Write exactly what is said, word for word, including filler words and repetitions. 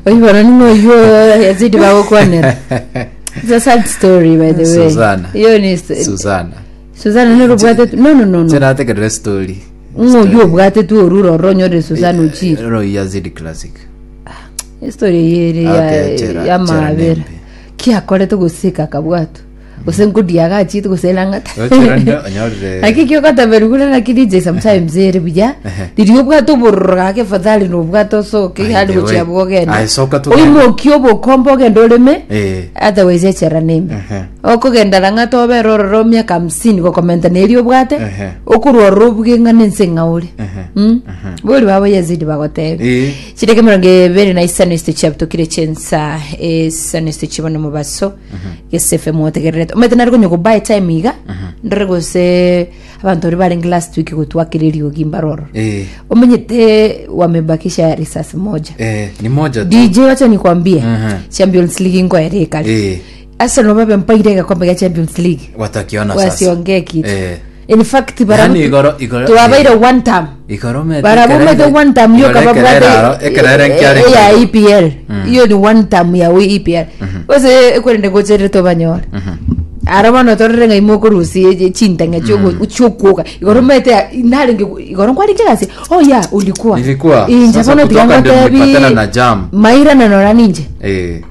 Oibona ning'o oywo Yazidi bagokwanera. It's a sad story, by the way. Susana. Iyo ni Susana. Susana nero obwate, no, no, no, no. Cherategerere story. Ng'o oywo obwate tu oruro ororo onyore Susana ochire. Ro Yazidi Classic. Story eye ere Okay, ya chera- chera ya mabera. nembe. Kiakorete goseka akabwatwa. Gose nkodia agachite gose erang'ata. Gochera ndo onyorire. Naki kiogotaberu kure naki D J sometimes ere buya. Riria obwate obororo gake, afadhali nobwate osoke By hali the gochia way. bwogenda. Aye, soka tugende. Oimokie obokombe ogende oreme. Eh. Otherwise echera nembe. Ehe. Okogenda rang'ata obere ororo miaka hamsini gokomenta neri obwate. Ehe. Okorwa ororo obuge ng'a nense ng'a ore. Ehe. Mm. Bori babo Yazidi bagotebia. Eh. Chideke mirongo ebere na isano isito chiabutokire chensa isano isito chibona mobaso gesefe mwotegererete omete nari konya gobuy time iga ndore gose abanto bari barenge last week gotwakira eriogi mbaroro. Eh. Omenyete wamebakisha risasi moja. Eh, ni moja tu. D J, wacha nikwambie, Mhm. Champions League ngoere kare. Eh. Arsenal babe mpaire gakombe ga Champions League. Watakiona sasa. Wasiongee kitu. Eh. In fact, Yani igoro igoro twabaire one time. Igoro mete. Barabumete one time yo kababwate ekerere nkiare. Ya E P L. Iyo ni one time ya we E P L ose ekwerende gocherere tobanyora aro bono torere ng'a imokorusi chintang'a chiokuoga igoro mete narenge igoro nkwarenge gasi. Oh yeah, ulikuwa. Nilikuwa. Inje Sasa bono kutoka ndio tiga nilipatana na jam. Mairana nora ninje. Eh.